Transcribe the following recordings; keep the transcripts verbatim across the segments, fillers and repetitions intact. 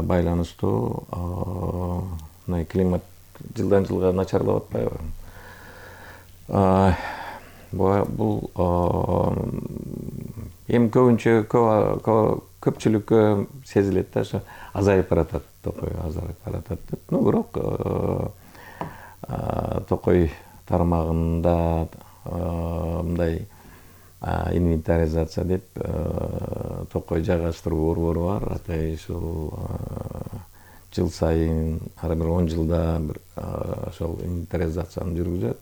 байланыштуу мына климат жылдан жылга начарлап атпайбы? Бул эми көбүнчө көпчүлүккө сезилет да, ошо азайып баратат, токой азайып баратат деп. Ну бирок токой тармагында мындай инвентаризация деп токой жайгаштыруу борбору бар. Атай ушул жыл сайын ар бир он жылда бир ошол инвентаризацияны жүргүзөт.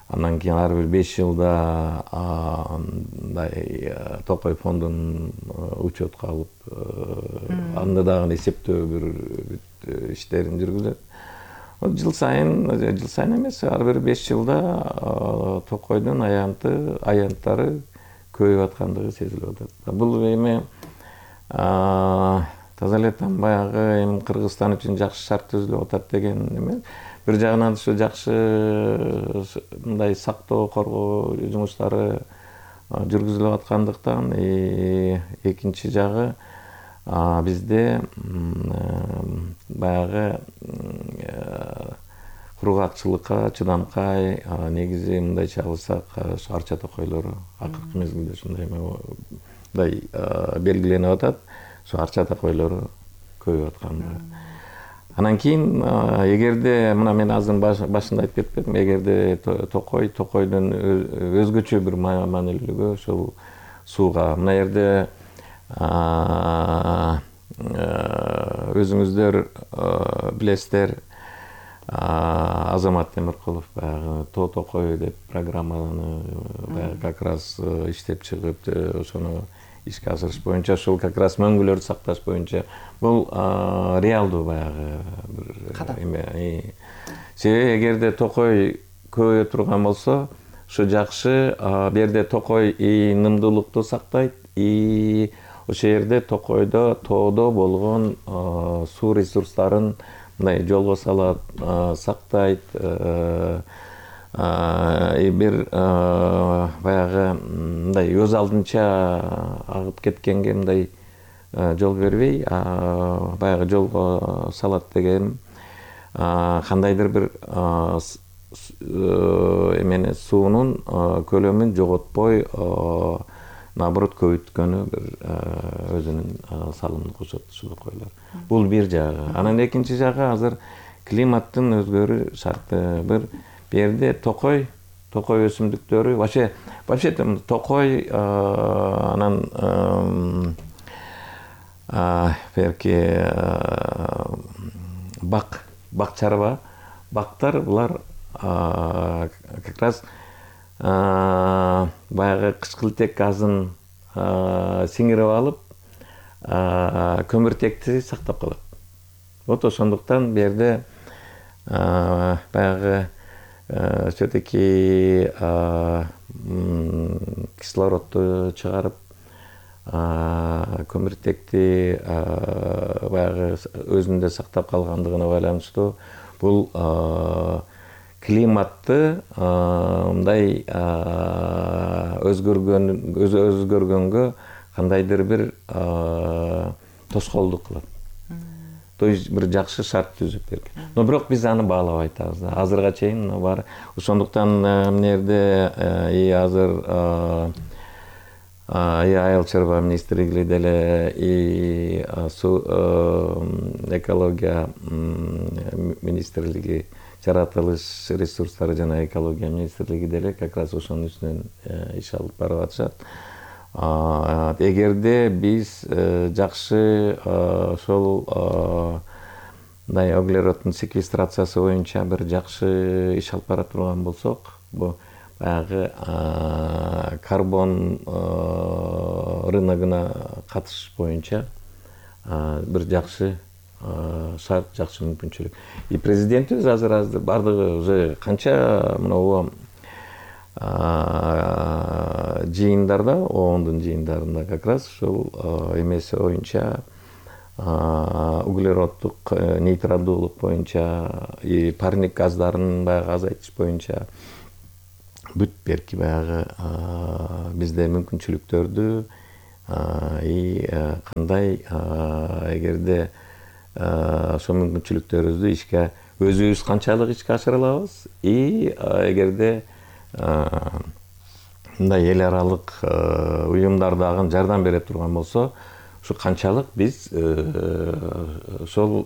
Андан кийин ар бир беш жылда мындай токой фондун учетко алып, анда дагы эсептөө бир иштерин жүргүзөт. Жыл сайын, жыл сайын эмес, ар бир беш жылда токойдун аянты, аянттары көбөйүп аткандыгы сезилип атат. Бул эми таза эле там баягы эми Кыргызстан үчүн жакшы шарт түзүлүп атат деген эме. Бир жагынан ушу жакшы мындай сактоо, коргоо жумуштары жүргүзүлүп аткандыктан, экинчи жагы бизде баягы кургакчылыкка, чыдамкай, негизи мындайча алсак, арча токойлору акыркы мезгилде ушундай мындай белгиленип атат. Ошо арча токойлору көбөйүп аткандыгы. Анан кийин эгерде мына мен азыр башында айтып кетпедимби, эгерде токой, токойдун өзгөчө бир маанилүүлүгү ошол сууга. Мына жерде өзүңүздөр билесиздер, Азамат Темиркулов баягы Тоо токой деп программаны баягы как раз иштеп чыгып, ошону ишке ашырыш боюнча, ошол как раз мөңгүлөрдү сакташ боюнча бул реалдуу баягы бир эме. Себеби эгерде токой көбөйө турган болсо, ушу жакшы. Бу жерде токой и нымдуулукту сактайт, и ошол жерде токойдо, тоодо болгон суу ресурстарын мындай жолго салат, сактайт. Бир баягы мындай өз алдынча агып кеткенге мындай жол бербей, баягы жолго салат деген кандайдыр бир эмени, суунун көлөмүн жоготпой, наоборот көбөйткөнү бир өзүнүн салымын кошот ушул токойлор. Бул бир жагы. Анан экинчи жагы азыр климаттын өзгөрүү шарты. Бир жерде токой, токой өсүмдүктөрү, вообще вообще токой анан берки бак, бак чарба, бактар булар как раз баягы кычкылтек газын сиңирип алып, көмүртекти сактап калат. Вот ошондуктан бу жерде баягы все-таки кислородду чыгарып, көмүртекти баягы өзүндө сактап калгандыгына байланыштуу бул климатты мындай өзгөргөнгө кандайдыр бир тоскоолдук кылат. То есть бир жакшы шарт түзүп берген. Но бирок биз аны баалабай атабыз. Азырга чейин бар. Ошондуктан мына жерде и азыр и айыл чарба министрлиги деле, и экология министрлиги, жаратылыш ресурстары жана экология министрлиги деле как раз ошонун үстүнөн иш алып барып атышат. Эгерде биз жакшы ошол мындай углероддун секвестрациясы боюнча бир жакшы иш алып бара турган болсок, бу баягы карбон рыногуна катышыш боюнча бир жакшы шарт, жакшы мүмкүнчүлүк. И президентибиз азыр азыр бардыгы уже канча мына жыйындарда, оондун жыйындарында как раз ушул эмеси боюнча, углероддук нейтралдуулук боюнча, и парник газдарын баягы азайтыш боюнча бүт берки баягы бизде мүмкүнчүлүктөрдү и кандай эгерде ошол мүмкүнчүлүктөрүбүздү ишке өзүбүз канчалык ишке ашыра алабыз, и эгерде мындай эл аралык уюмдар дагы жардам бере турган болсо, ушу канчалык биз ошол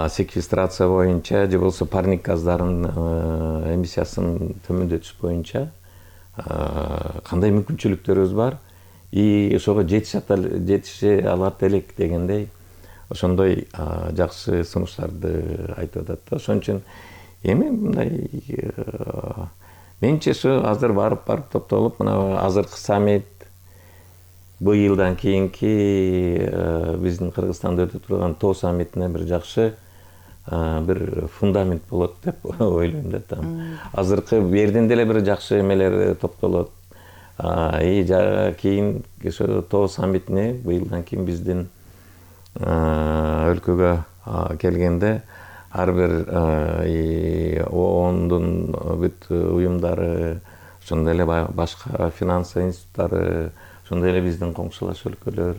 секвестрация боюнча же болбосо парник газдарын эмиссиясын төмөндөтүш боюнча кандай мүмкүнчүлүктөрүбүз бар, и ошого жетише алат элек дегендей ошондой жакшы сунуштарды айтып атат да. Ошон үчүн эми мындай менимче ушу азыр барып барып топтолуп, мына азыркы саммит, быйылдан кийинки биздин Кыргызстанда өтө турган тоо саммитине бир жакшы бир фундамент болот деп ойлойм да. Азыркы берден деле бир жакшы эмелер топтолот. И кийин ошо тоо саммитине быйылдан кийин биздин өлкөгө келгенде ар бир оондун бүт уюмдары, ошондой эле башка финанс институттары, ошондой эле биздин коңшулаш өлкөлөр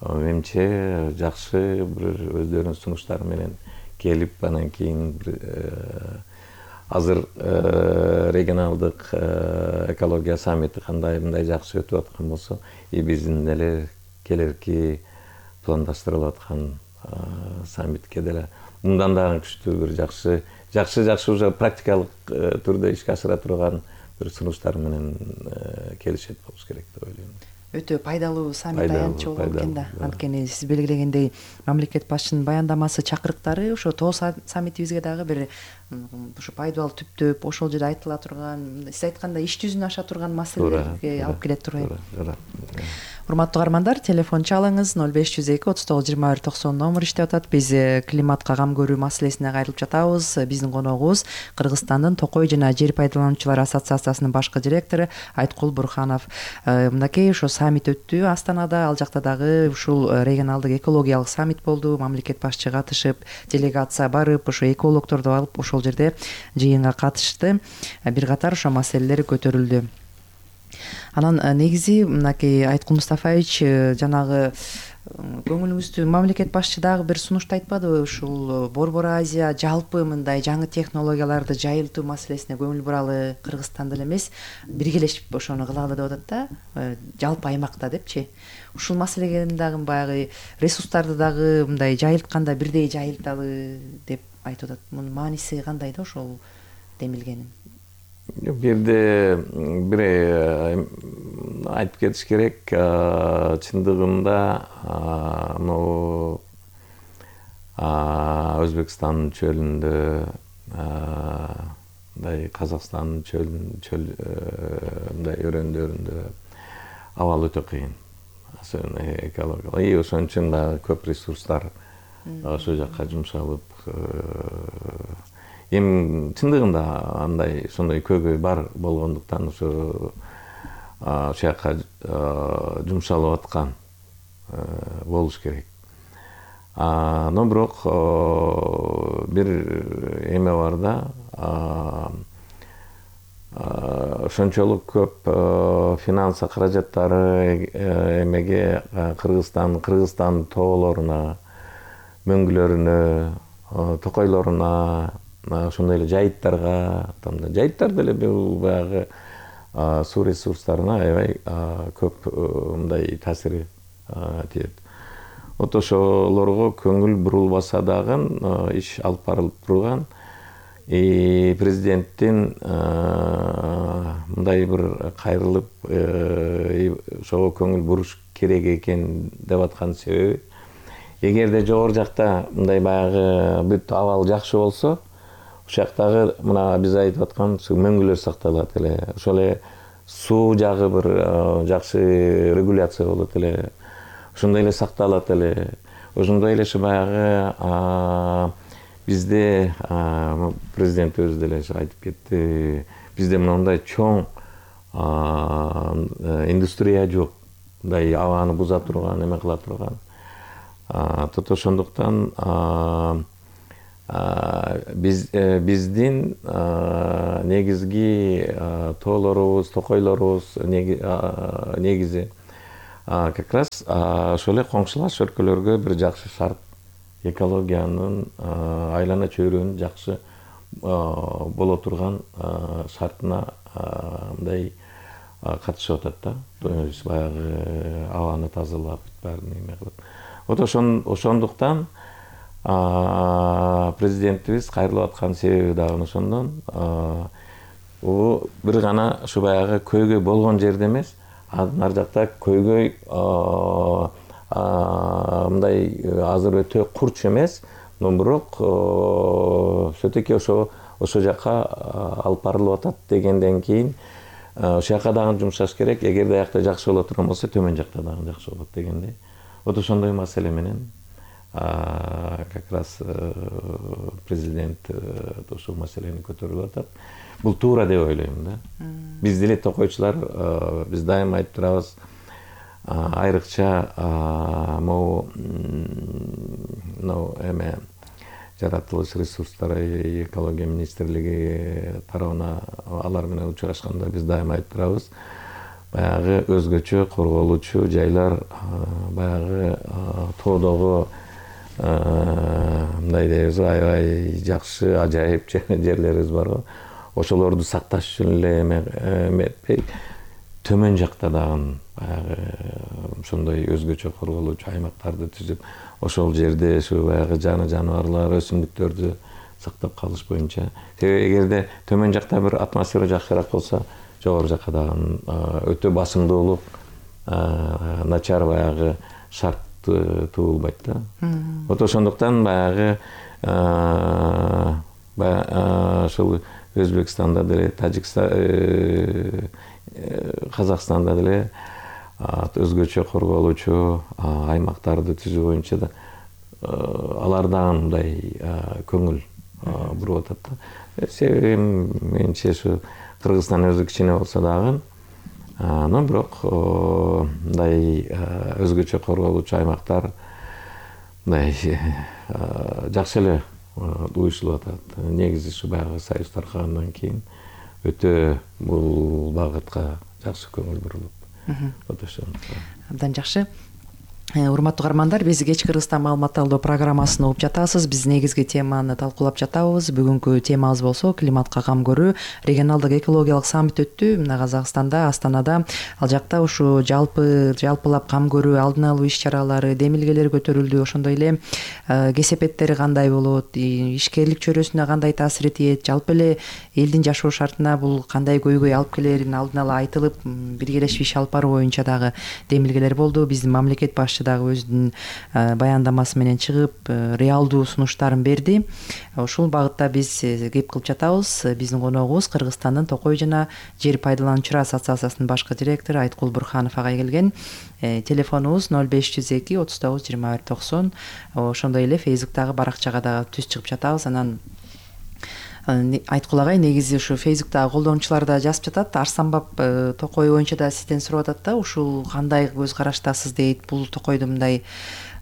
менимче жакшы бир өздөрүнүн сунуштары менен келип, анан кийин азыр регионалдык экология саммити кандай мындай жакшы өтүп аткан болсо, и биздин деле келерки пландаштырылып аткан саммитке деле мындан дагы күчтүү бир жакшы жакшы жакшы уже практикалык түрдө ишке ашыра турган бир сунуштар менен келишет болуш керек деп ойлойм. Өтө пайдалуу саммит аянтчы болот экен да. Анткени сиз белгилегендей мамлекет башчынын баяндамасы, чакырыктары ошо тоо саммитибизге дагы бир ушу пайдалуу түптөп ошол жерде айтыла турган, сиз айткандай иш жүзүнө аша турган маселелерге алып келет турат. Урматтуу каармандар, телефон чалыңыз ноль беш жүз эки отуз тогуз жыйырма бир токсон номер иштеп атат. Биз климатка кам көрүү маселесине кайрылып жатабыз. Биздин коногубуз Кыргызстандын Токой жана Жер пайдалануучулар ассоциациясынын башкы директору Айткул Бурханов. Мындакей ошо саммит өттү Астанада, ал жакта дагы ушул регионалдык экологиялык саммит болду. Мамлекет башчы катышып, делегация барып, ошо экологдорду алып ошол жерде жыйынга катышты. Бир катар ошо маселелер көтөрүлдү. Анан негизи мынакей Айткул Мустафаевич жанагы көңүлүңүздү мамлекет башчы дагы бир сунушту айтпадыбы? Ушул Борбор Азия жалпы мындай жаңы технологияларды жайылтуу маселесине көңүл буралы, Кыргызстанда эле эмес, биргелешип ошону кылалы деп атат да, жалпы аймакта депчи. Ушул маселеге дагы баягы ресурстарды дагы мындай жайылтканда бирдей жайылталы деп айтып атат. Мунун мааниси кандай да ошол демилгенин? Бирде бир айтып кетиш керек, чындыгында могу Өзбекстандын чөлүндө, мындай Казакстандын чөл мындай өрөөндөрүндө абал өтө кыйын, экологиялык. И ошон үчүн дагы көп ресурстар ошол жакка жумшалып, эми чындыгында андай ошондой көйгөй бар болгондуктан ошо ошол жака жумшалып аткан болуш керек. Но бирок бир эме бар да, ошончолук көп финанс каражаттары эмеге Кыргызстан, Кыргызстандын тоолоруна, мөңгүлөрүнө, токойлоруна, ошондой эле жайыттарга, жайыттар деле бул баягы суу ресурстарына аябай көп мындай таасири тиет. Вот ошолорго көңүл бурулбаса дагы иш алып барылып турган. И президенттин мындай бир кайрылып ошого көңүл буруш керек экен деп аткан себеби, эгерде жогору жакта мындай баягы бүт абал жакшы болсо, ошол жактагы мына биз айтып аткан мөңгүлөр сакталат эле, ошол эле суу жагы бир жакшы регуляция болот эле, ошондой эле сакталат эле. Ошондой эле баягы бизде президент өзү деле айтып кетти, бизде мындай чоң индустрия жок, мындай абаны буза турган, эме кыла турган. Ошондуктан биз биздин негизги тоолорубуз, токойлорубуз негизи как раз ошол эле коңшулаш өлкөлөргө бир жакшы шарт, экологиянын айлана чөйрөнүн жакшы боло турган шартына мындай катышып атат да. То есть баягы абаны тазалап баарын эме кылып. Вот ошондуктан президентибиз кайрылып аткан себеби дагы ошондон. Бул бир гана ушу баягы көйгөй болгон жерде эмес, ар жакта көйгөй мындай азыр өтө курч эмес, но бирок все-таки ошо ошо жака алып барылып атат дегенден кийин ошол жака дагы жумшаш керек. Эгерде аякта жакшы боло турган болсо, төмөн жакта дагы жакшы болот дегендей. Вот ошондой маселе менен как раз президент ушул маселени көтөрүп атат. Бул туура деп ойлойм да. Биз деле токойчулар биз дайыма айтып турабыз, айрыкча могу эме жаратылыш ресурстары экология министрлиги тарабына алар менен учурашканда биз дайыма айтып турабыз, баягы өзгөчө корголуучу жайлар, баягы тоодогу мындай дейбиз, аябай жакшы ажайып жерлерибиз барбы, ошолорду сакташ үчүн эле эметпей, төмөн жакта дагы баягы ошондой өзгөчө корголуучу аймактарды түзүп, ошол жерде ушу баягы жаны жаныбарлар, өсүмдүктөрдү сактап калыш боюнча. Себеби эгерде төмөн жакта бир атмосфера жакшыраак болсо, жогору жакка дагы өтө басымдуулук, начар баягы шарт туулбайт да. Вот ошондуктан баягы ошол Өзбекстанда деле, Тажикстан, Казакстанда деле өзгөчө корголуучу аймактарды түзүү боюнча да алар дагы мындай көңүл буруп атат да. Себеби менимче ушу Кыргызстан өзү кичине болсо дагы, но бирок мындай өзгөчө корголуучу аймактар мындай жакшы эле уюшулуп атат. Негизи ушу баягы союз таркагандан кийин өтө бул багытка жакшы көңүл бурулуп. Вот ошо. Абдан жакшы. Урматтуу каармандар, биз кечки Кыргызстан маалымат алуу программасын угуп жатасыз. Биз негизги теманы талкуулап жатабыз. Бүгүнкү темабыз болсо климатка кам көрүү. Регионалдык экологиялык саммит өттү мына Казакстанда, Астанада. Ал жакта ушу жалпы жалпылап кам көрүү, алдын алуу иш-чаралары, демилгелер көтөрүлдү. Ошондой эле кесепеттери кандай болот, ишкерлик чөйрөсүнө кандай таасир этет, жалпы эле элдин жашоо шартына бул кандай көйгөй алып келерин алдын ала айтылып, биргелешип иш алып баруу боюнча дагы демилгелер болду. Биздин мамлекет башчысы дагы өзүнүн баяндамасы менен чыгып, реалдуу сунуштарын берди. Ушул багытта биз кеп кылып жатабыз. Биздин коногубуз Кыргызстандын Токой жана жер пайдалануучулар ассоциациясынын башкы директору Айткул Бурханов агай келген. Телефонубуз ноль беш жүз эки отуз тогуз жыйырма бир токсон. Ошондой эле Фейсбуктагы баракчага дагы түз чыгып жатабыз. Анан Айткул агай негизи ушу Фейсбуктагы колдонуучулар да жазып жатат. Арстанбап Токой боюнча да сизден сурап атат да, ушул кандай көз караштасыз дейт. Бул Токойдун мындай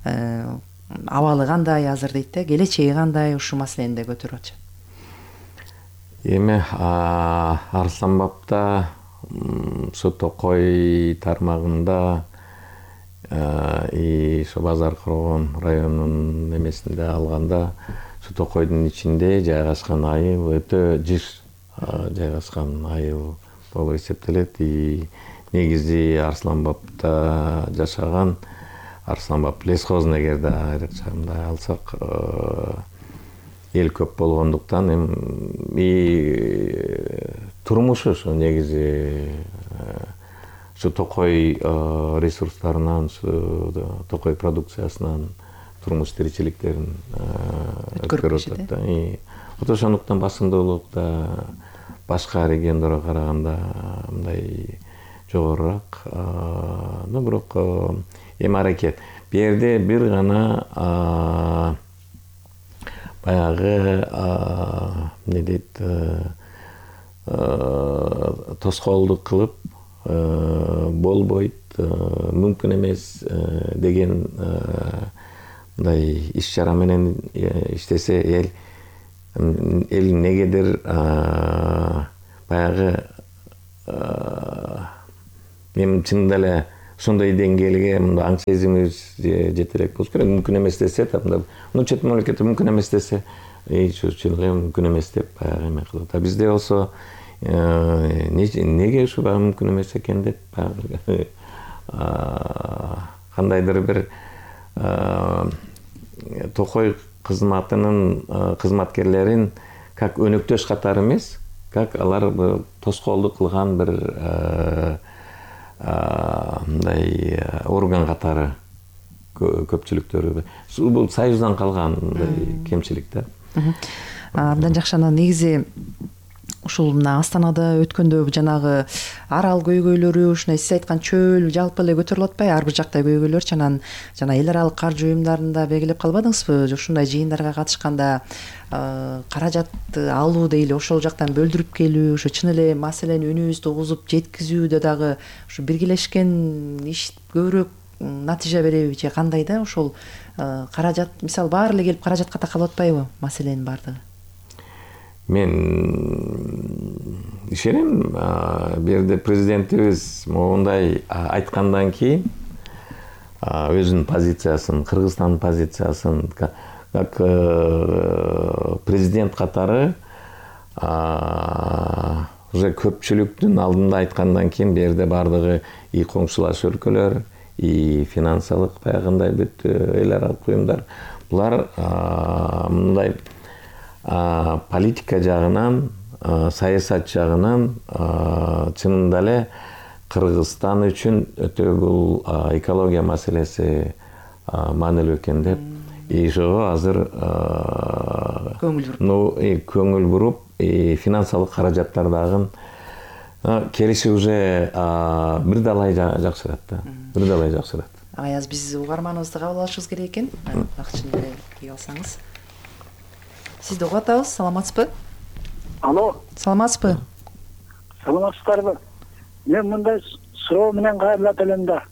абалы кандай азыр дейт да, келечеги кандай, ушул маселени да көтөрүп атышат. Эми Арстанбапта ушу Токой тармагында и ошо Базар Коргон районунун эмесинде алганда Токойдун ичинде жайгашкан айыл өтө жыш жайгашкан айыл болуп эсептелет. И негизи Арсланбапта жашаган, Арсланбап лесхозун эгерде айрыкча мындай алсак, эл көп болгондуктан эми турмушу ушу негизи ушу Токой ресурстарынан, ушу Токой продукциясынан турмуш тиричиликтерин өткөрүп атат да. Вот ошондуктан басымдуулук да башка региондорго караганда мындай жогорураак. Но бирок эми аракет. Бу жерде бир гана баягы эмне дейт, тоскоолдук кылып болбойт, мүмкүн эмес деген мындай иш-чара менен иштесе эл эл негедир баягы эми чынында эле ошондой деңгээлге мындай аң сезимибиз жете элек болуш керек. Мүмкүн эмес десе да, мындай чет мамлекетте мүмкүн эмес десе, чыныгы мүмкүн эмес деп баягы эме кылат. А бизде болсо неге ушу баягы мүмкүн эмес экен деп баягы кандайдыр бир Токой кызматынын кызматкерлерин как өнөктөш катары эмес, как алар тоскоолдук кылган бир мындай орган катары көпчүлүктөрү. Бул Союздан калган кемчилик да. Абдан жакшы. Анан негизи ушул мына Астанада өткөндө жанагы арал көйгөйлөрү, ушундай сиз айткан чөөл жалпы эле көтөрүлүп атпайбы? Ар бир жакта көйгөйлөрчү. Анан жана эл аралык каржы уюмдарында белгилеп калбадыңызбы? Ушундай жыйындарга катышканда каражат алуу дейли, ошол жактан бөлдүрүп келүү, ошо чын эле маселени үнүбүздү угузуп жеткизүүдө дагы ушу биргелешкен иш көбүрөөк натыйжа береби же кандай да? Ошол каражат, мисалы, баары эле келип каражатка такалып атпайбы маселенин баардыгы? Мен ишенем, бул жерде президентибиз моундай айткандан кийин өзүнүн позициясын, Кыргызстандын позициясын как президент катары уже көпчүлүктүн алдында айткандан кийин бул жерде баардыгы и коңшулаш өлкөлөр, и финансылык баягындай бүт эл аралык уюмдар, булар мындай политика жагынан, саясат жагынан чынында эле Кыргызстан үчүн өтө бул экология маселеси маанилүү экен деп, и ошого азыр көңүл буруп, финансылык каражаттар дагы келиши уже бир далай жакшырат да, бир далай жакшырат. Аяз, биз угарманыбызды кабыл алышыбыз керек экен. Акчын эле кийип алсаңыз. Сизди угуп атабыз, саламатсызбы? Алло. Саламатсызбы? Саламатсыздарбы? Мен мындай суроо менен кайрылат элем да.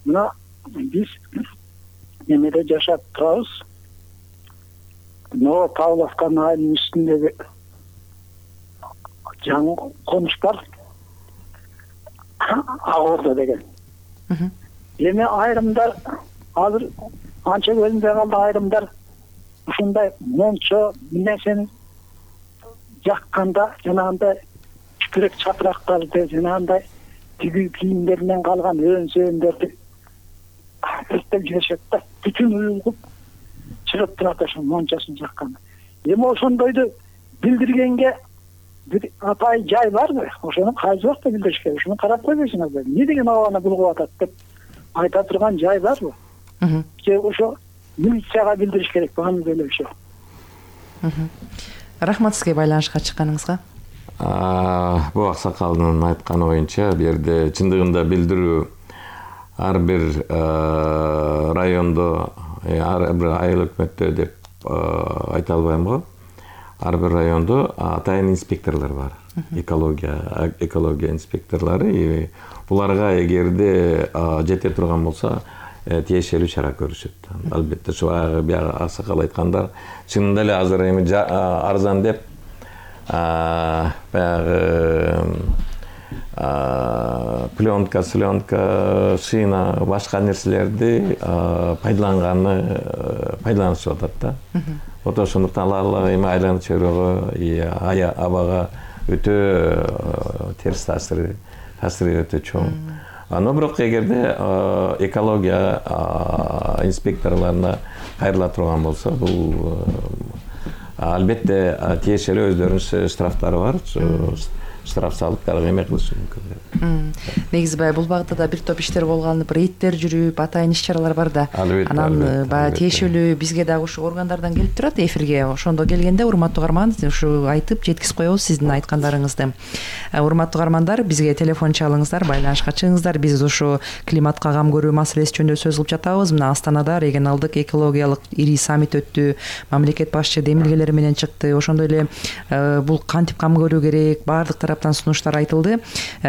Мына биз немеде жашап турабыз. Ново Павловка айылынын үстүндөгү жаңы конуш бар. Агордо деген. Эми айрымдар азыр анча көзүндө калды, айрымдар ушундай мончо нерсени жакканда жанагындай чүпүрөк чапырактарды, жанагындай тигүү кийимдеринен калган өөн-сөөндөрдү өрттөп жиберишет да. Бүтүн уюлгуп чыгып турат ошо мончосын жакканда. Эми ошондойду билдиргенге бир апай жай барбы? Ошону кайсы убакта билдириш керек? Ошону карап койбойсуңарбы? Эмне деген абаны булгуп атат деп айта турган жай барбы? Же ошо милицияга билдириш керек бааны деле ошо. Рахмат сизге байланышка чыкканыңызга. Бул аксакалдын айтканы боюнча, бул жерде чындыгында билдирүү ар бир райондо, ар бир айыл өкмөттө деп айта албайм го. Ар бир райондо атайын инспекторлор бар. Экология, экология инспекторлору, и буларга эгерде жете турган болсо, тиешелүү чара көрүшөт. Албетте, ушу баягы аксакал айткандар чынында эле азыр эми арзан деп баягы пленка, сленка, шина, башка нерселерди пайдаланганы пайдаланышып атат да. Вот ошондуктан алар эми айланып чыгууга, абага өтө терс таасири, таасири өтө чоң. Но бирок эгерде экология инспекторлоруна кайрыла турган болсо, бул албетте тиешелүү өздөрүнүн штрафтары бар. Штраф салып дагы эме кылышы мүмкүн. Негизи баягы бул багытта да бир топ иштер колго алынып, рейдтер жүрүп, атайын иш-чаралар бар да. Анан баягы тиешелүү бизге дагы ушу органдардан келип турат эфирге. Ошондо келгенде урматтуу угарман, ушу айтып жеткизип коебуз сиздин айткандарыңызды. Урматтуу угармандар, бизге телефон чалыңыздар, байланышка чыгыңыздар. Биз ушу климатка кам көрүү маселеси жөнүндө сөз кылып жатабыз. Мына Астанада регионалдык экологиялык ири саммит өттү. Мамлекет башчы демилгелери менен чыкты. Ошондой эле бул кантип кам көрүү керек, баардык тараптан сунуштар айтылды.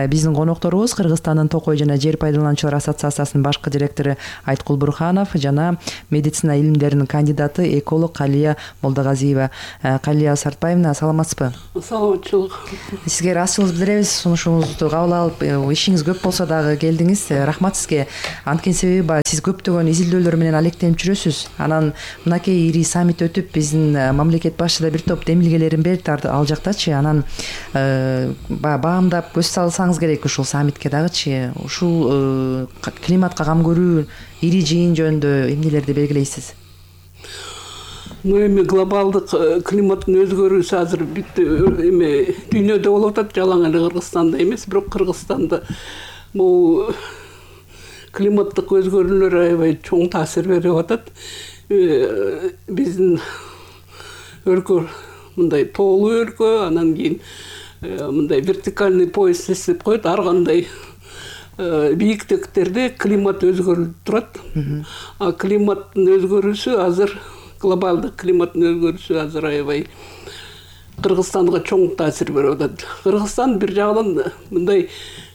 Биздин конокторубуз Кыргызстандын Токой жана жер пайдалануучулар ассоциациясынын башкы директору Айткул Бурханов жана медицина илимдеринин кандидаты эколог Калия Молдогазиева. Калия Сартбаевна, саламатсызбы? Саламатчылык. Сизге ыраазычылык билдиребиз, сунушуңузду кабыл алып, ишиңиз көп болсо дагы келдиңиз. Рахмат сизге. Анткени себеби баягы сиз көптөгөн изилдөөлөр менен алектенип жүрөсүз. Анан мынакей ири саммит өтүп, биздин мамлекет башы да бир топ демилгелерин берди ал жактачы. Анан баягы баамдап көз салсаңыз керек ушул саммитке дагычы. Ушул климатка кам көрүү ири жыйын жөнүндө эмнелерди белгилейсиз? Ну, эми глобалдык климаттын өзгөрүүсү азыр бүт эми дүйнөдө болуп атат, жалаң эле Кыргызстанда эмес, бирок Кыргызстанда бул климаттык өзгөрүүлөр аябай чоң таасир берип атат. Биздин өлкө мындай тоолуу өлкө, анан кийин мындай вертикальный пояс эсеп коет, ар кандай бийиктиктерде климат өзгөрүлүп турат. А климаттын өзгөрүүсү азыр глобалдык климаттын өзгөрүүсү азыр аябай Кыргызстанга чоң таасир берип атат. Кыргызстан бир жагынан мындай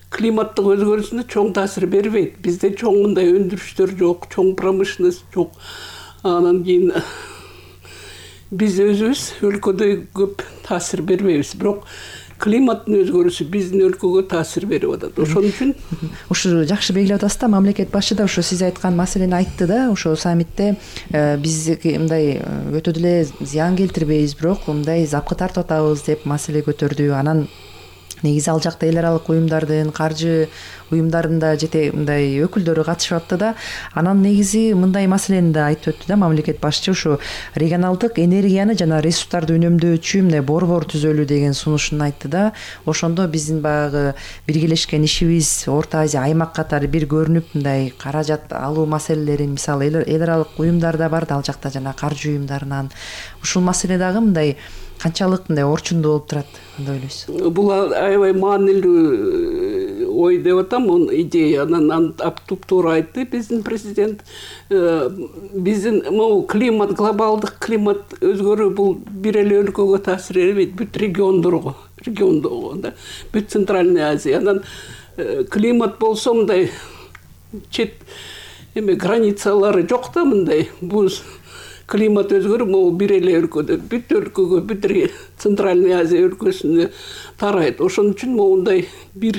климаттык өзгөрүүсүнө чоң таасир бербейт. Бизде чоң мындай өндүрүштөр жок, чоң промышленность жок. Анан кийин биз өзүбүз өлкөдө көп таасир бербейбиз. Бирок климаттын өзгөрүүсү биздин өлкөгө таасир берип атат. Ошон үчүн ушу жакшы белгилеп атасыз да, мамлекет башы да ушу сиз айткан маселени айтты да, ошо саммитте биз мындай өтө деле зыян келтирбейбиз, бирок мындай запкы тартып атабыз деп маселе көтөрдү. Анан негизи ал жакта эл аралык уюмдардын, каржы уюмдарынын да жете мындай өкүлдөрү катышып атты да. Анан негизи мындай маселени да айтып өттү да мамлекет башчы, ушу регионалдык энергияны жана ресурстарды үнөмдөөчү мындай борбор түзөлүү деген сунушун айтты да. Ошондо биздин баягы биргелешкен ишибиз Орто Азия аймак катары бир көрүнүп, мындай каражат алуу маселелерин, мисалы эл аралык уюмдар да бар да ал жакта, жана каржы уюмдарынан ушул маселе дагы мындай канчалык мындай орчундуу болуп турат деп ойлойсуз? Бул аябай маанилүү ой деп атам, идея. Анан туп-туура айтты биздин президент. Биздин могу климат, глобалдык климат өзгөрүү бул бир эле өлкөгө таасир бербейт, бүт региондорго, региондогу да, бүт Центральный Азия. Анан климат болсо мындай чет эме границалары жок да, мындай бул климат өзгөрүү могу бир эле өлкөдө, бүт өлкөгө, бүт Центральный Азия өлкөсүнө тарайт. Ошон үчүн моундай бир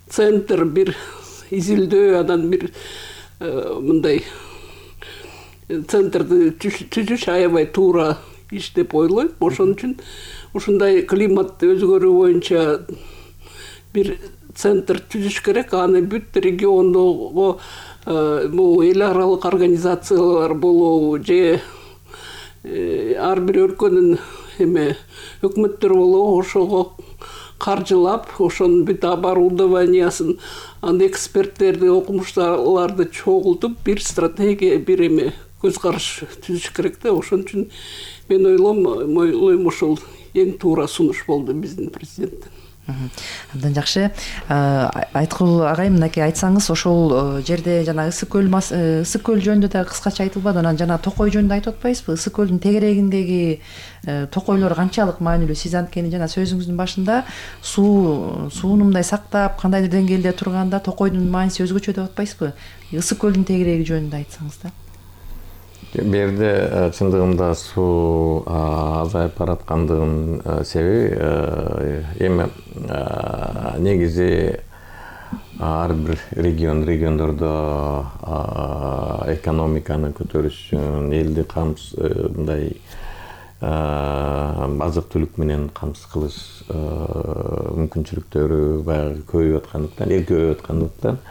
центр, бир изилдөө, анан бир мындай центрди түзүш аябай туура иш деп ойлойм. Ошон үчүн ушундай климат өзгөрүү боюнча бир центр түзүш керек. Аны бүт региондогу бул эл аралык организациялар болобу же ар бир өлкөнүн эме өкмөттөр болобу, ошого каржылап, ошонун бүт оборудованиясын, аны эксперттерди, окумуштууларды чогултуп, бир стратегия, бир эме көз караш түзүш керек да. Ошон үчүн мен ойлойм, ойлойм ушул эң туура сунуш болду биздин президенттен. Абдан жакшы. Айткул агай, мынакей айтсаңыз, ошол жерде жана Ысык көл Ысык көл жөнүндө да кыскача айтылбады, анан жана Токой жөнүндө айтып атпайсызбы? Ысык көлдүн тегерегиндеги токойлор канчалык маанилүү? Сиз анткени жана сөзүңүздүн башында суу сууну мындай сактап, кандайдыр деңгээлде турганда Токойдун мааниси өзгөчө деп атпайсызбы? Ысык көлдүн тегереги жөнүндө айтсаңыз да. Бу жерде чындыгында суу азайып бараткандыгынын себеби эми негизи ар бир регион региондордо экономиканы көтөрүш үчүн элди камсыз мындай азык түлүк менен камсыз кылыш мүмкүнчүлүктөрү баягы көбөйүп аткандыктан, эл көбөйүп аткандыктан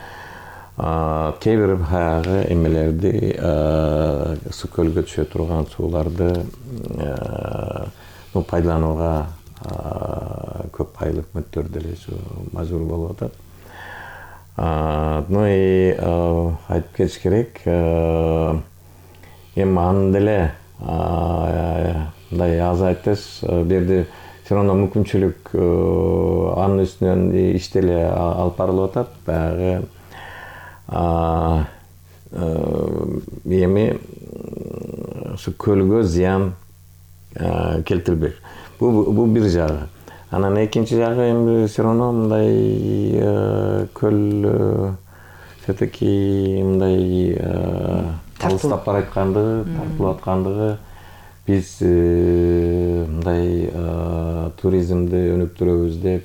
кээ бир баягы эмелерди Ысык көлгө түшө турган сууларды пайдаланууга көп айлык өкмөттөр деле мажбур болуп атат. Ну и айтып кетиш керек, эми аны деле мындай азайтыш, бул жерде все равно мүмкүнчүлүк анын үстүнөн иш деле алып барылып атат. Баягы эми Ысык көлгө зыян келтирбек. Бул бир жагы. Анан экинчи жагы эми все равно мындай көл все-таки мындай алыстап бараткандыгы, тартылып аткандыгы, биз мындай туризмди өнүктүрөбүз деп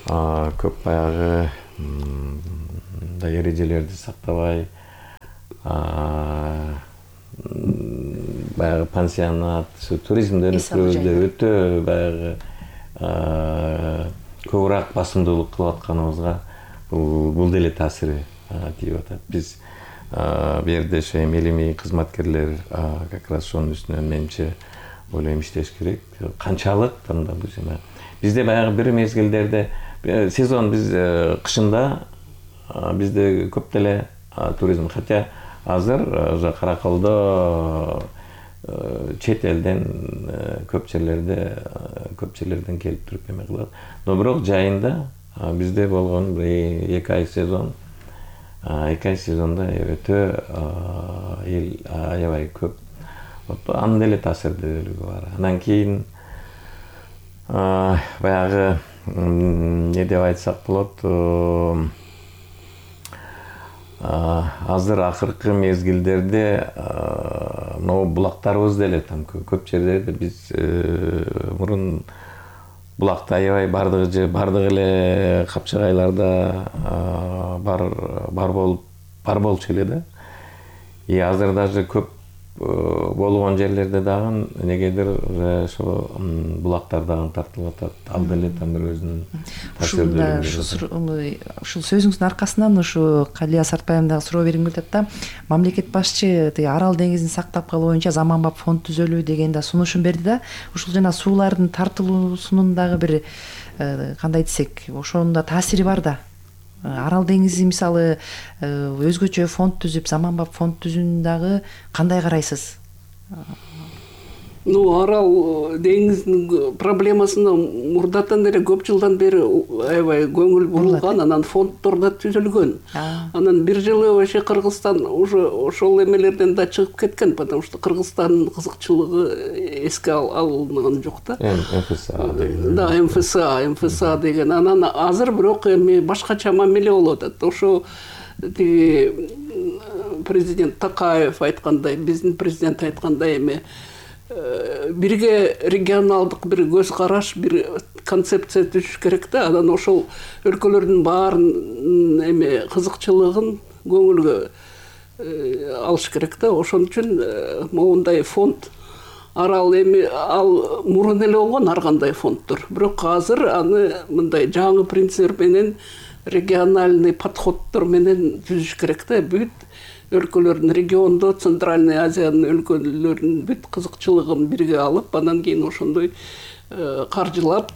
көп баягы мындай эрежелерди сактабай, баягы пансионат, туризмди өнүктүрөбүз деп өтө баягы көбүрөөк басымдуулук кылып атканыбызга бул деле таасири тийип атат. Биз бу жерде ошо эми элемий кызматкерлер как раз ошонун үстүнөн менимче ойлойм иштеш керек. Канчалык мындай жана бизде баягы бир мезгилдерде сезон биз кышында бизде көп деле туризм, хотя азыр уже Каракалдо чет элден көп жерлерде көп жерлерден келип туруп эме кылат. Но бирок жайында бизде болгон эки ай сезон, эки ай сезонда өтө эл аябай көп. Анын деле таасирдүүлүгү бар. Андан кийин баягы эмне деп айтсак болот, азыр акыркы мезгилдерде могу булактарыбыз деле там көп жерлерде биз мурун булакта аябай бардыгы же бардык эле Капчагайларда бар бар болуп бар болчу эле да. И азыр даже көп болгон жерлерде дагы негедир ошо булактар дагы тартылып атат. Ал деле там бир өзүнүн таасирдүүлүгү. Ушул сөзүңүздүн аркасынан ушу Калия Сартбаевна дагы суроо бергим келип атат да. Мамлекет башчы Арал деңизин сактап калуу боюнча заманбап фонд түзөлүү деген да сунушун берди да. Ушул жана суулардын тартылуусунун дагы бир кандай десек, ошонун да таасири бар да. Арал деңизи мисалы өзгөчө фонд түзүп, заманбап фонд түзүүнү дагы кандай карайсыз? Ну, Арал деңизинин проблемасына мурдатан эле көп жылдан бери аябай көңүл бурулган, анан фонддор да түзүлгөн. Анан бир жылы вообще Кыргызстан уже ошол эмелерден да чыгып кеткен, потому что Кыргызстандын кызыкчылыгы эске алынган жок да. МФСА деген. Да, МФСА, МФСА деген. Анан азыр бирок эми башкача мамиле болуп атат. Ошо тиги президент Такаев айткандай, биздин президент айткандай эми бирге регионалдык бир көз караш, бир концепция түзүш керек да. Анан ошол өлкөлөрдүн баарын эме кызыкчылыгын көңүлгө алыш керек да. Ошон үчүн моундай фонд Арал эми ал мурун эле болгон ар кандай фонддор. Бирок азыр аны мындай жаңы принцип менен региональный подходдор менен түзүш керек да. Бүт өлкөлөрдүн региондо Центральный Азиянын өлкөлөрүнүн бүт кызыкчылыгын бирге алып, андан кийин ошондой каржылап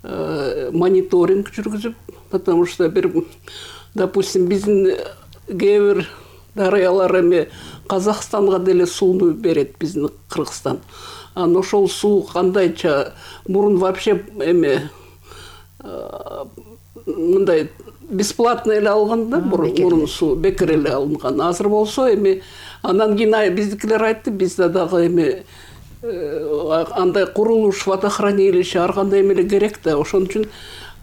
мониторинг жүргүзүп, потому что бир, допустим, биздин кээ бир дарыялар эми Казакстанга деле сууну берет, биздин Кыргызстан. Анан ошол суу кандайча мурун вообще эме мындай бесплатно эле алган да, мурун суу бекер эле алынган. Азыр болсо эми андан кийин биздикилер айтты, бизде дагы эми андай курулуш, водохранилище ар кандай эмеле керек да. Ошон үчүн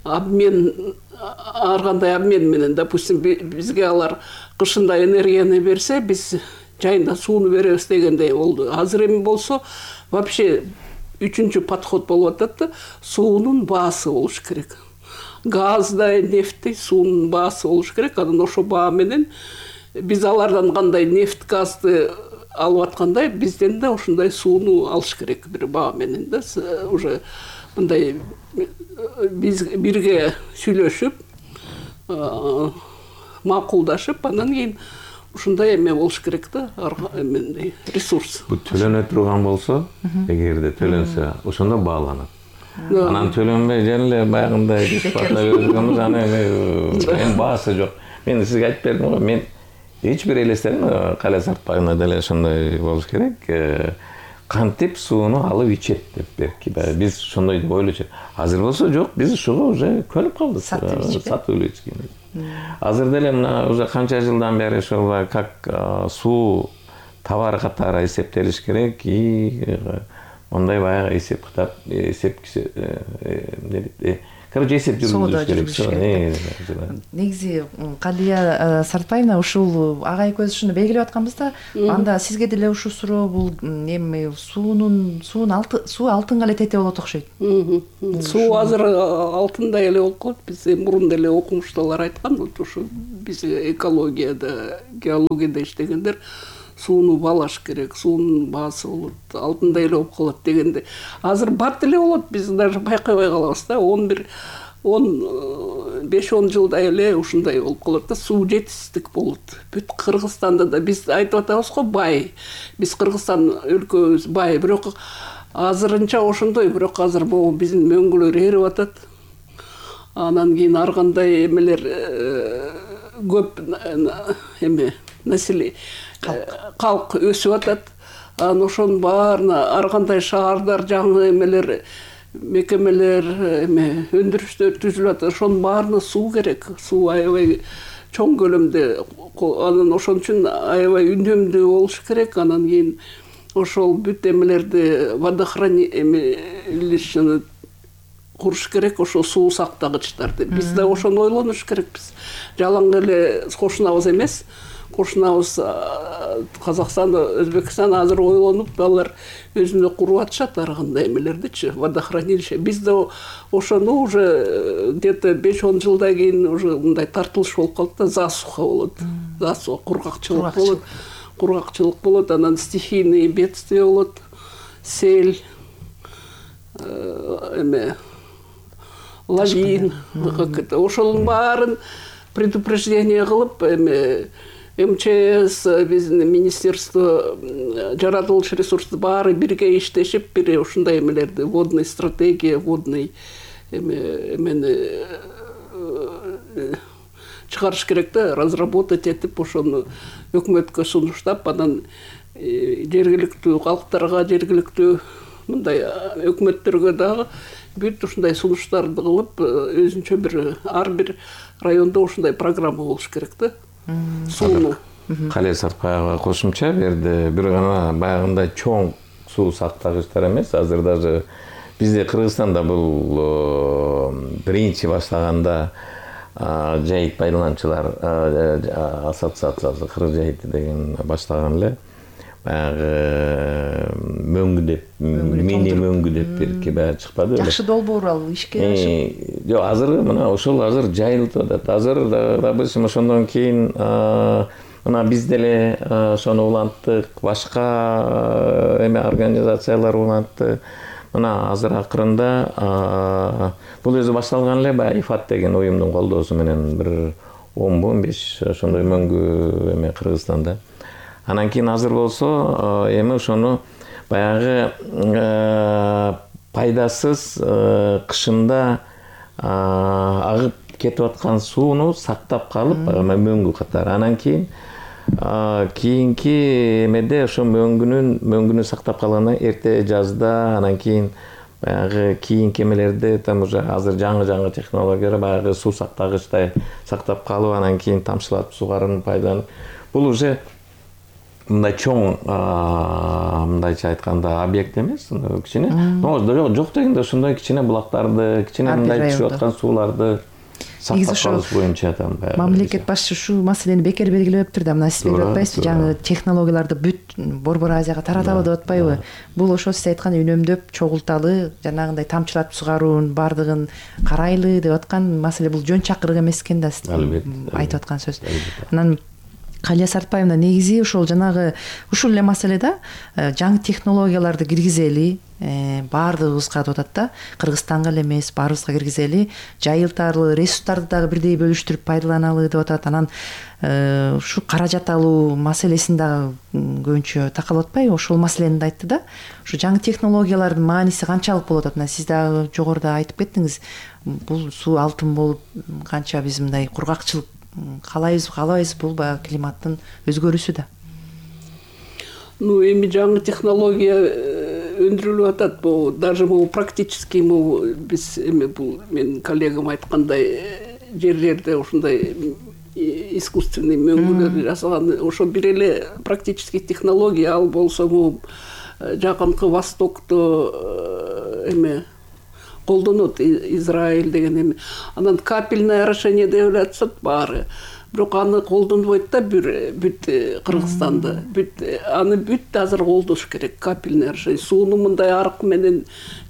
обмен, ар кандай обмен менен, допустим, бизге алар кышында энергияны берсе, биз жайында сууну беребиз дегендей болду. Азыр эми болсо вообще үчүнчү подход болуп атат да, суунун баасы болуш керек. Газдай, нефтти, суунун баасы болуш керек. Анан ошо баа менен биз алардан кандай нефть, газды алып аткандай, бизден да ошондой сууну алыш керек бир баа менен да. Уже мындай биз бирге сүйлөшүп, макулдашып, анан кийин ушундай эме болуш керек да, эмендей ресурс. Бу төлөнө турган болсо, эгерде төлөнсө, ошондо бааланат. Анан төлөнбөй эле баягындай бесплатно берилгенбиз, аны эми баасы жок. Мен сизге айтып бердим го, мен эч бир элестетем, Калия Сартбаевна деле ошондой болуш керек. Кантип сууну алып ичет деп берки. Биз ошондой деп ойлочу. Азыр болсо жок, биз ушуга уже көнүп калдык. Сатып эле ичкен. Азыр деле мына уже канча жылдан бери ошол как суу товар катары эсептелиш керек и ондай баягы эсеп кытап эсеп короче эсеп жүргүзүш керек. Негизи Калия Сартбаевна ушул ага экөөбүз ушуну белгилеп атканбыз да, анда сизге деле ушул суроо бул эми суунун суун алты суу алтынга эле тете болот окшойт. Суу азыр алтындай эле болуп калат. Биз мурун деле окумуштуулар айткан, ушу биз экологияда, геологияда иштегендер сууну баалаш керек, суунун баасы болот, алтындай эле болуп калат дегенде. Азыр бат эле болот, биз даже байкабай калабыз да. он бир он беш он жылдай эле ушундай болуп калат да, суу жетишсиздик болот. Бүт Кыргызстанда да биз айтып атабыз го, бай. Биз Кыргызстан өлкөбүз бай, бирок азырынча ошондой, бирок азыр могу биздин мөңгүлөр эрип атат. Анан кийин ар кандай эмелер көп эме население калк өсүп атат. Анан ошонун баарына ар кандай шаардар, жаңы эмелер, мекемелер, эме өндүрүштөр түзүлүп атат. Ошонун баарына суу керек. Суу аябай чоң көлөмдө. Анан ошон үчүн аябай үнөмдүү болуш керек. Анан кийин ошол бүт эмелерди водохранилищени куруш керек, ошо суу сактагычтарды. Биз да ошону ойлонуш керекпиз. Жалаң эле кошунабыз эмес. Кошунабыз Казакстан, Өзбекстан азыр ойлонуп, алар өзүнө куруп атышат ар кандай эмелердичи, водохранилище. Биз да ошону уже где-то беш он жылдан кийин уже мындай тартылыш болуп калат да, засуха болот. Засуха, кургакчылык болот. Кургакчылык болот, анан стихийный бедствие болот, сел, эме лавин, ошонун баарын предупреждение кылып, эме МЧС, биздин министерство, жаратылыш ресурсту баары бирге иштешип, бир ушундай эмелерди, водный стратегия, водный эмени чыгарыш керек да, разработать этип, ошону өкмөткө сунуштап, анан жергиликтүү калктарга, жергиликтүү мындай өкмөттөргө дагы бүт ушундай сунуштарды кылып, өзүнчө бир ар бир райондо ушундай программа болуш керек да. Сууну. Калия Сартбаева кошумча берди. Бир гана баягындай чоң суу сактагычтар эмес, азыр даже бизде Кыргызстанда бул биринчи баштаганда жайыт пайдаланчылар ассоциациясы Кыргыз жайыты деген баштаган эле. Баягы мөңгү деп, мини мөңгү деп бирки баягы чыкпады. Жакшы долбоор ал ишке ашып. Жок, азыр мына ошол азыр жайылып атат. Азыр допустим ошондон кийин мына биз деле ошону уланттык, башка эме организациялар улантты. Мына азыр акырында бул өзү башталган эле, баягы ИФАТ деген уюмдун колдоосу менен бир он он беш ошондой мөңгү эме Кыргызстанда. Анан кийин азыр болсо эми ошону баягы пайдасыз кышында агып кетип аткан сууну сактап калып, мөңгү катары. Анан кийин кийинки эмеде ошо мөңгүнүн мөңгүнү сактап калгандан эрте жазда, анан кийин баягы кийинки эмелерде там уже азыр жаңы-жаңы технологиялар баягы суу сактагычтай сактап калып, анан кийин тамчылатып сугарууну пайдаланып. Бул уже мындай чоң, мындайча айтканда, объект эмес, кичине. Жок дегенде ошондой кичине булактарды, кичине мындай түшүп аткан сууларды сактап калыш боюнча там баягы. Мамлекет башчы ушул маселени бекер белгилептир да, мына сиз белгилеп атпайсызбы, жаңы технологияларды бүт Борбор Азияга тараталы деп атпайбы? Бул ошо сиз айткан үнөмдөп, чогулталы, жанагындай тамчылатып сугаруунун баардыгын карайлы деп аткан маселе, бул жөн чакырык эмес экен да, сиз айтып аткан сөз. Анан Калия Сартбаевна негизи ушул жанагы ушул эле маселеде жаңы технологияларды киргизели, баардыгыбызга деп атат да, Кыргызстанга эле эмес, баарыбызга киргизели, жайылталы, ресурстарды дагы бирдей бөлүштүрүп пайдаланалы деп атат. Анан ушу каражат алуу маселесин дагы көбүнчө такалып атпайбы? Ошол маселени да айтты да. Ушу жаңы технологиялардын мааниси канчалык болуп атат? Мына сиз дагы жогоруда айтып кеттиңиз. Бул суу алтын болуп, канча биз мындай кургакчылык каалайбыз, каалабайбыз, бул баягы климаттын өзгөрүүсү да. Ну, эми жаңы технология өндүрүлүп атат. Бул даже бул практически бул биз эми бул мен коллегам айткандай жерлерде ушундай искусственный мөңгүлөр жасаган, ошо бир эле практически технология. Ал болсо бул жакынкы Востокто эме колдонот, Израиль деген эме. Анан капельное орошение деп атышат баары. Бирок аны колдонбойт да бүт Кыргызстанда. Бүт аны бүт азыр колдош керек, капельное орошение. Сууну мындай арык менен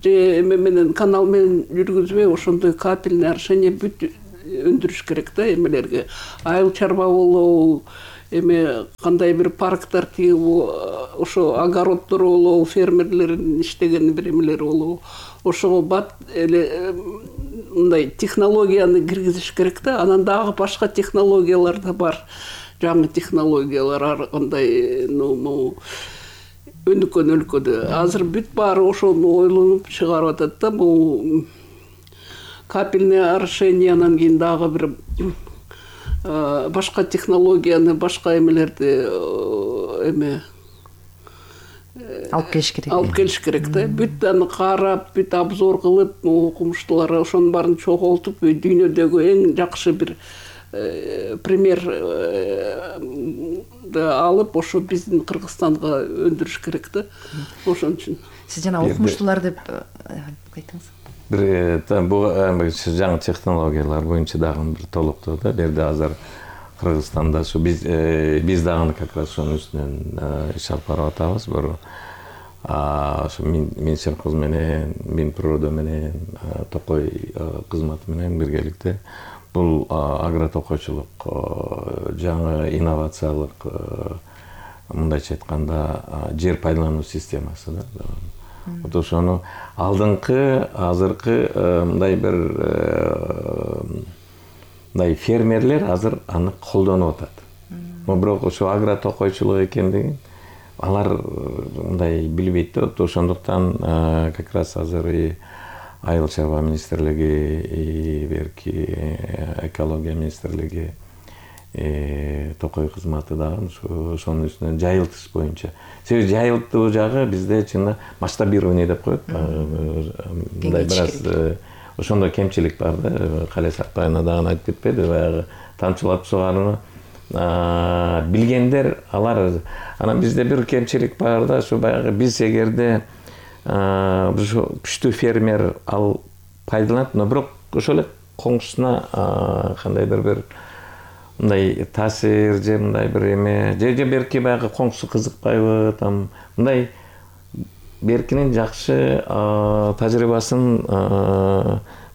же эме менен канал менен жүргүзбөй, ошондой капельное орошение бүт өндүрүш керек да эмелерге. Айыл чарба болобу, эме кандай бир парктар тигип, ошо огороддор болобу, фермерлердин иштеген бир эмелери болобу. Ошого бат эле мындай технологияны киргизиш керек да. Анан дагы башка технологиялар да бар. Жаңы технологиялар ар кандай, ну, өнүккөн өлкөдө. Азыр бүт баары ошону ойлонуп чыгарып атат да. Бул капельное орошение, анан кийин дагы бир башка технологияны, башка эмелерди эме алып келиш керек. Алып келиш керек да. Бүт аны карап, бүт обзор кылып, окумуштуулар ошонун баарын чогултуп, дүйнөдөгү эң жакшы бир пример алып, ошо биздин Кыргызстанга өндүрүш керек да. Ошон үчүн. Сиз жана окумуштуулар деп айтыңыз. Бир бул жаңы технологиялар боюнча дагы бир толуктоо да. Берде азыр Кыргызстанда ушу биз биз дагы как раз ошонун үстүнөн иш алып барып атабыз. Бир ошо Минсельхоз менен, Минприрода менен, Токой кызматы менен биргеликте бул агротокойчулук, жаңы инновациялык, мындайча айтканда, жер пайдалануу системасы да. Вот ошону алдыңкы, азыркы мындай бир мындай фермерлер азыр аны колдонуп атат. Бирок ошо агротокойчулук экендигин алар мындай билбейт да. Ошондуктан как раз азыр и Айыл чарба министрлиги, и берки экология министрлиги, Токой кызматы дагы ошонун үстүнөн жайылтыш боюнча. Себеби жайылтуу жагы бизде чынында масштабирование деп коет. Мындай бир аз ошондой кемчилик бар да. Кале Сартбаевна дагы айтып кетпеди, баягы тамчылап сугарууну билгендер алар. Анан бизде бир кемчилик бар да, ушу баягы биз эгерде ушу күчтүү фермер ал пайдаланат, но бирок ошол эле коңшусуна кандайдыр бир мындай таасир же мындай бир эме же же берки баягы коңшусу кызыкпайбы, там мындай беркинин жакшы тажрыйбасын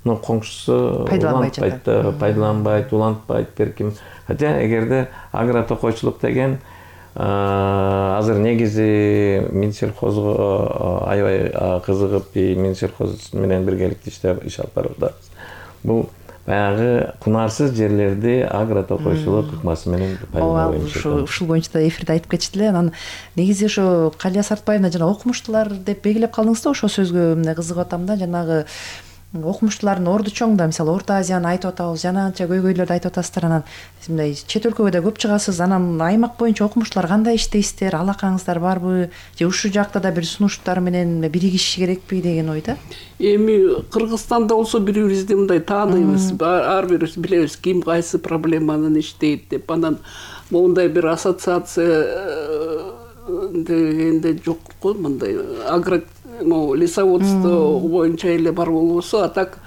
ну коңшусу улантпайт, пайдаланбайт, улантпайт берким. Хотя эгерде агротокойчулук деген азыр негизи Минсельхозго аябай кызыгып, Минсельхоз менен биргеликте иштеп иш алып барып атабыз. Бул баягы кунарсыз жерлерди агротокойчулук ыкмасы менен пайдалануу боюнча. Ушул боюнча да эфирде айтып кетиштиле. Анан негизи ошо Калия Сартбаевна жана окумуштуулар деп белгилеп калдыңыз да, ошол сөзгө мына кызыгып атам да. Жанагы окумуштуулардын орду чоң да, мисалы Орто Азияны айтып атабыз, жана анча көйгөйлөрдү айтып атасыздар. Анан мындай чет өлкөгө да көп чыгасыз. Анан аймак боюнча окумуштуулар кандай иштейсиздер, алакаңыздар барбы, же ушул жакта да бир сунуштар менен биригишиш керекпи деген ойда? Эми Кыргызстанда болсо бири-бирибизди мындай тааныйбыз, ар бирибиз билебиз ким кайсы проблеманын иштейт деп. Анан мондай бир ассоциация дегенде жок го, мындай агро лесоводство боюнча эле бар болбосо, а так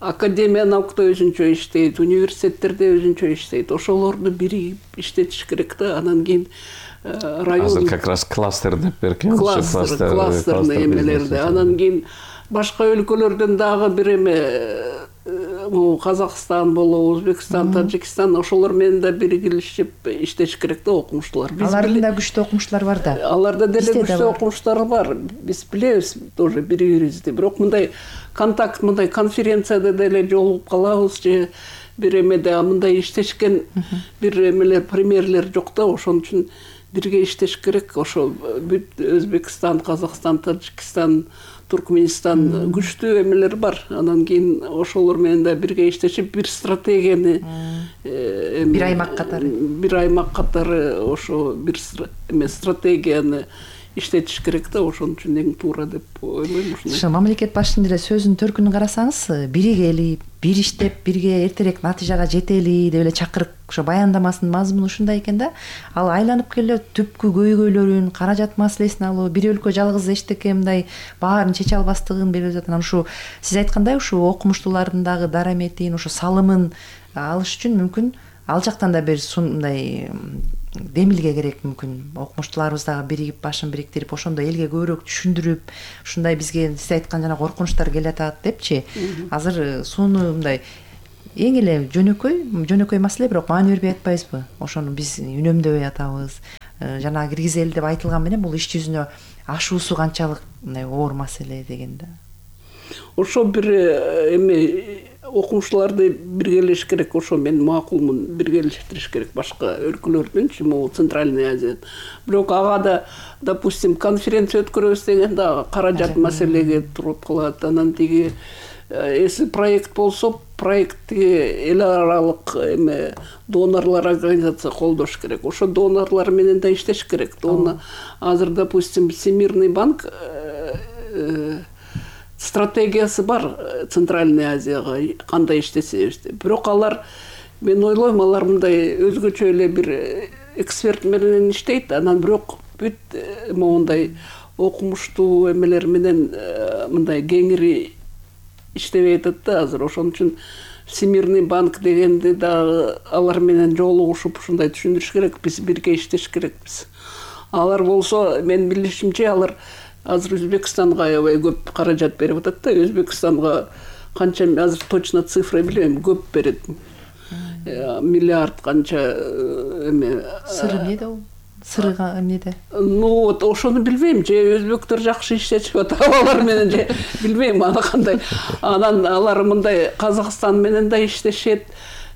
академия наукта өзүнчө иштейт, университеттерде өзүнчө иштейт. Ошолорду биригип иштетиш керек да. Анан кийин район азыр как раз кластер деп беркен, кластер, кластерный эмелерди. Анан кийин башка өлкөлөрдөн дагы бир эме, Казакстан болобу, Өзбекстан, Тажикстан, ошолор менен да биригилишип иштеш керек да окумуштуулар. Алардын да күчтүү окумуштуулар бар да. Аларда деле күчтүү окумуштуулар бар. Биз билебиз тоже бири-бирибизди. Бирок мындай контакт, мындай конференцияда деле жолугуп калабыз же бир эмеде мындай иштешкен бир эмелер, примерлер жок да. Ошон үчүн бирге иштеш керек. Ошо бүт Өзбекстан, Казакстан, Таджикстан, Туркменистан күчтүү эмелер бар. Анан кийин ошолор менен да бирге иштешип бир стратегияны бир аймак катары бир аймак катары ошо бир эме стратегияны иштетиш керек да, ошон үчүн эң туура деп ойлойм. Ошо мамлекет башчынын эле сөзүнүн төркүнүн карасаңыз, биригели, бир иштеп, бирге эртерээк натыйжага жетели деп эле чакырык ошо баяндамасынын мазмуну ушундай экен да. Ал айланып келе түпкү көйгөйлөрүн, каражат маселесин алуу, бир өлкө жалгыз эчтеке мындай баарын чече албастыгын белгилеп жатат. Анан ушу сиз айткандай ушу окумуштуулардын дагы дараметин, ошо салымын алыш үчүн мүмкүн ал жактан да бир мындай демилге керек. Мүмкүн окумуштууларыбыз дагы биригип, башын бириктирип, ошондо элге көбүрөөк түшүндүрүп, ушундай бизге сиз айткан жана коркунучтар келатат депчи. Азыр сууну мындай эң эле жөнөкөй жөнөкөй маселе, бирок маани бербей атпайбызбы? Ошону биз үнөмдөбөй атабыз. Жана киргизели деп айтылган менен бул иш жүзүнө ашуусу канчалык мындай оор маселе дегенде. Ошо бир эме окумуштууларды биргелеш керек, ошо мен макулмун, биргелештириш керек башка өлкөлөрдүнчү, могу Центральный Азия. Бирок ага да, допустим, конференция өткөрөбүз дегенде каражат маселеге туруп калат. Анан тиги эси проект болсо, проектти эл аралык эме донорлар организация колдош керек. Ошо донорлар менен да иштеш керек. Оны азыр, допустим, Всемирный банк стратегиясы бар Центральный Азияга кандай иштесебиз деп. Бирок алар, мен ойлойм, алар мындай өзгөчө эле бир эксперт менен иштейт. Анан бирок бүт моундай окумуштуу эмелер менен мындай кеңири иштебей атат да азыр. Ошон үчүн Всемирный банк дегенде дагы алар менен жолугушуп ушундай түшүндүрүш керек. Биз бирге иштеш керекпиз. Алар болсо, мен билишимче, алар азыр Өзбекстанга аябай көп каражат берип атат да. Өзбекстанга канча, азыр точно цифра билбейм, көп берет. Миллиард канча эме. Сыры эмнеде ол? Сырыга эмнеде? Ну вот ошону билбейм, же өзбектөр жакшы иштечип атат, алар менен же билбейм аны кандай. Анан алар мындай Казакстан менен да иштешет.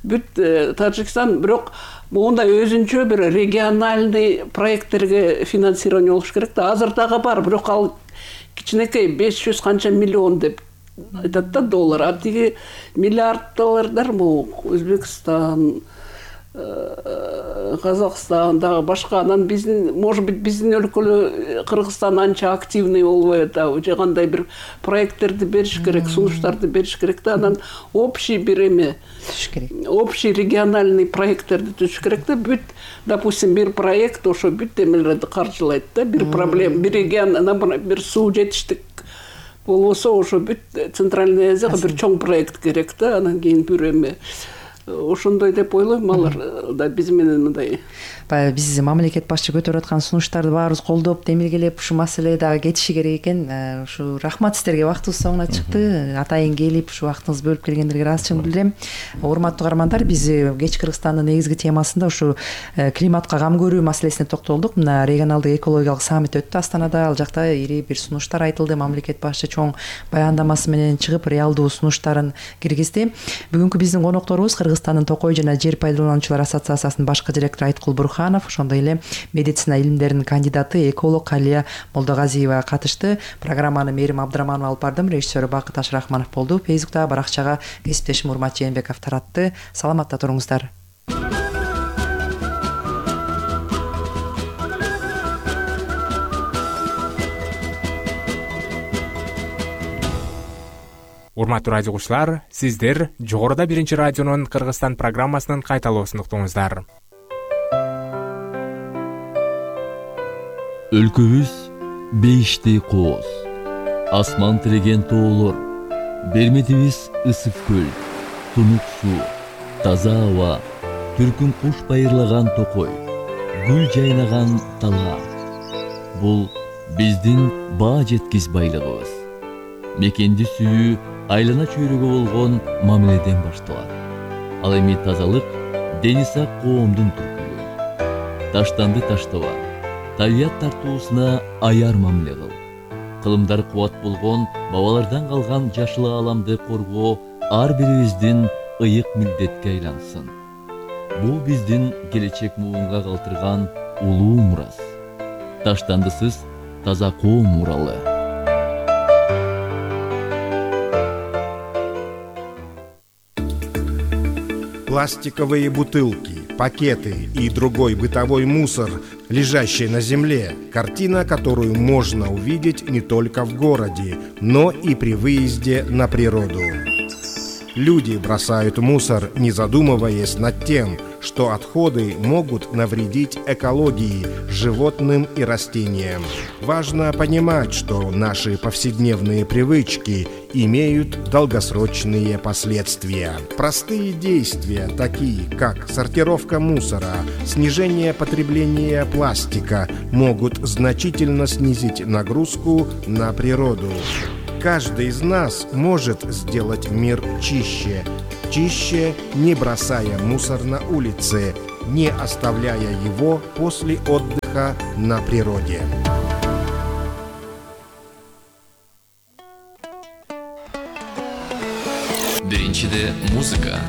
Бүт Тажикстан, бирок мондай өзүнчө бир региональный проекттерге финансирование болуш керек да. Азыр дагы бар, бирок ал кичинекей беш жүз канча миллион деп айтат да доллар. А тиги миллиард доллардар могу Өзбекстан, Казакстан дагы башка. Анан биздин, может быть, биздин өлкөлө Кыргызстан анча активный болбой атабы, же кандай бир проекттерди бериш керек, сунуштарды бериш керек да. Анан общий бир эме түзүш керек. Общий региональный проекттерди түзүш керек да. Бүт, допустим, бир проект ошо бүт эмелерди каржылайт да. Бир проблема, бир регион, бир суу жетиштик болбосо, ошо бүт Центральный Азияга бир чоң проект керек да. Анан кийин бир эме ошондой деп ойлойм, алар да биз менен мындай. Баягы биз мамлекет башчы көтөрүп аткан сунуштарды баарыбыз колдоп, демилгелеп, ушу маселе дагы кетиши керек экен. Ушу рахмат сиздерге, вактыбыз соңуна чыкты. Атайын келип, ушу вактыңызды бөлүп келгендерге ыраазычылык билдирем. Урматтуу каармандар, биз Кеч Кыргызстандын негизги темасында ушу климатка кам көрүү маселесине токтолдук. Мына регионалдык экологиялык саммит өттү Астанада. Ал жакта ири бир сунуштар айтылды. Мамлекет башчы чоң баяндамасы менен чыгып, реалдуу сунуштарын киргизди. Бүгүнкү биздин конокторубуз Кыргызстандын Токой жана Жер пайдалануучулар ассоциациясынын башкы директору Айткул Бурханов, ошондой эле медицина илимдеринин кандидаты, эколог Алия Молдогазиева катышты. Программаны Мерим Абдыраманова алып бардым, режиссеру Бакыт Ашрахманов болду. Фейсбукта баракчага кесиптешим Урмат Жээнбеков таратты. Саламатта туруңуздар. Урматтуу радио угуучулар, сиздер жогоруда биринчи радионун Кыргызстан программасынын кайталоосун уктуңуздар. Өлкөбүз бейиштей кооз, асман тиреген тоолор, берметибиз ысык көл, тунук суу, таза аба, түркүн куш байырлаган Токой, гүл жайнаган дала. Бул биздин баа жеткис байлыгыбыз. Мекенди сүйүү айлана чөйрөгө болгон мамиледен башталат. Ал эми тазалык дени сак коомдун түркүлүгү. Таштанды таштаба, табият тартуусуна аяр мамиле кыл. Кылымдар кубат болгон бабалардан калган жашыл ааламды коргоо ар бирибиздин ыйык милдетке айлансын. Бул биздин келечек муунга калтырган улуу мурас. Таштандысыз таза коом муралы. Пластиковые бутылки, пакеты и другой бытовой мусор, лежащий на земле. Картина, которую можно увидеть не только в городе, но и при выезде на природу. Люди бросают мусор, не задумываясь над тем, что отходы могут навредить экологии, животным и растениям. Важно понимать, что наши повседневные привычки имеют долгосрочные последствия. Простые действия, такие как сортировка мусора, снижение потребления пластика, могут значительно снизить нагрузку на природу. Каждый из нас может сделать мир чище. Чище, не бросая мусор на улице, не оставляя его после отдыха на природе. Биринчиде музыка.